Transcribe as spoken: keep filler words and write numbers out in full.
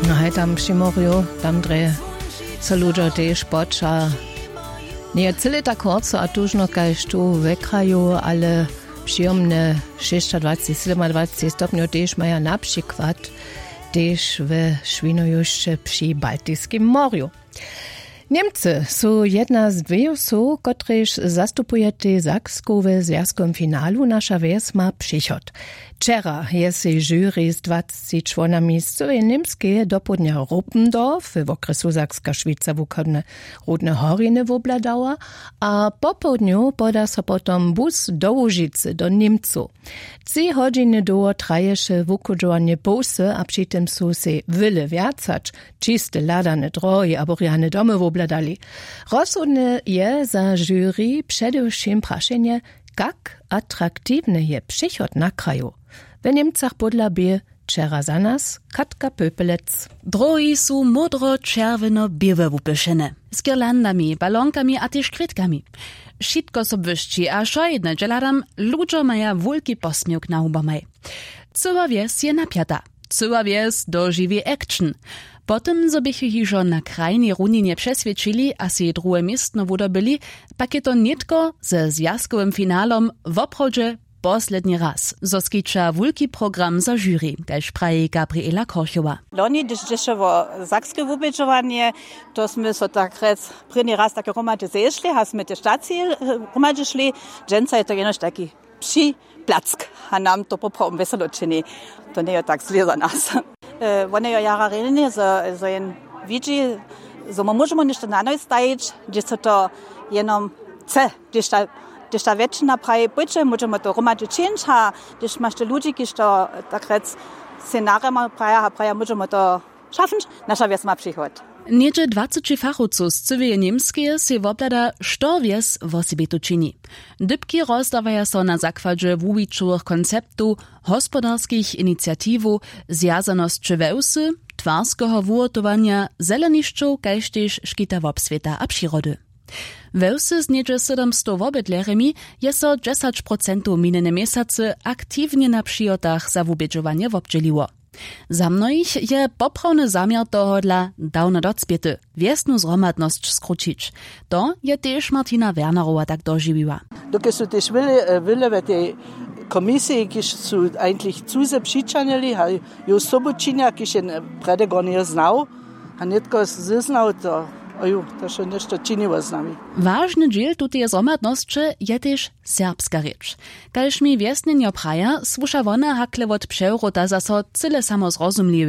Haj tam při morju, tam drje so ludźo tež poča. Njeje cyle tak horco a tužno kaž tu we kraju, ale přijomne šěsćadwacci sydomadwacci stopnjow tež maja na přikład tež we šwinojušće při baltiskim morju. Němcy su jedna z dweju sow, kotrež zastupujetej Saksku we zwjazkowym finalu. Naša wjes ma přichod. Wčera je sej žuri z dwacci čłonami z cyłej Němskeje dopołdnja Ruppendorf we wokrjesu Sakska Šwica wuchodne Rudne Horiny wobhladała a popołdnju poda so potom bus do Łužicy do Němcow. Tři hodźiny dołho traješe wuchudźowanje połsy a při tym su sej wjele wjac hač čiste hladane drohi abo rjane domy wobhladali. Rozsudne je za žuri předewšěm prašenje, kak atraktiwny je přechod na kraju. We Němcach pódla bě wčera za nas Katka Pöpelec. Drohi su módro-čerwjeno-běłe wupyšene, z girlandami, balonkami a tež kwětkami. Wšitko so błyšći a wšojedne dźe hladam, ludźo maja wulki posměwk na hubamaj. Cyła wjes je napjata. Cyła wjes dožiwi action. Po tym zo běchu hižo na krajnej runinje přeswědčili a sej druhe městno wudobyli, pak je to nětko ze zwjazkowym finalom woprawdźe posledni raz zo skića wulki program za žuri, kaž praji Gabriela Korchowa. Loni hdyž dźěše wo sakske wubědźowanje, to smy so tak rjec prěni raz tak hromadźe zešli a smy tež taci hromadźe šli. Dźensa je to jenož taki připlack a nam to poprawom wjeselo čini. To njejo tak zle za nas. Wone jo jara rjenje zo jen widźi zo my móžemo něšto na noj stajić, hdźež so to jenom chce, hdźež ta wjetšina praji pójće, móžemo to hromadźe čińć a hdźež maš te ludźi kiž to tak rjec scenarjama praja a praja móžemo to šafnć. Naša wjes ma přichod. Něhdźe dwaceći fachowcow z cyłeje Němskeje sej wobhlada, što wjes wosebito čini. Dypki rozdawaja so na zakładźe wuwićowych konceptow, hospodarskich iniciatiwow, zwjazanosće wewsy, twarskeho wuhotowanja, zelenišćow kaž tež škita wobswěta a přirody. We wsy z něhdźe sydomstow wobydlerjemi je so dźesać procentow minjene měsacy aktiwnje na přihotach za wubědźowanje wobdźěliło. Za mnohich je poprawny zaměr tohodla dawno docpěty, wjesnu zhromadnosć skrućić. To je tež Martina Wernerowa tak dožiwiła. Dokelž su tež wjele we tej komisiji kiž su eigentlich cuze přićahnili a ju sobu činja kiž je prjedy gornje znał a nětko zeznał to, oju, to so něšto činiło z nami. Wažny dźěl tuteje zhromadnosće je tež serbska rěč. Kaž mi wjesnjenjo praja, słuša wona hakle wot přewróta zaso cyle samo zrozumliwy.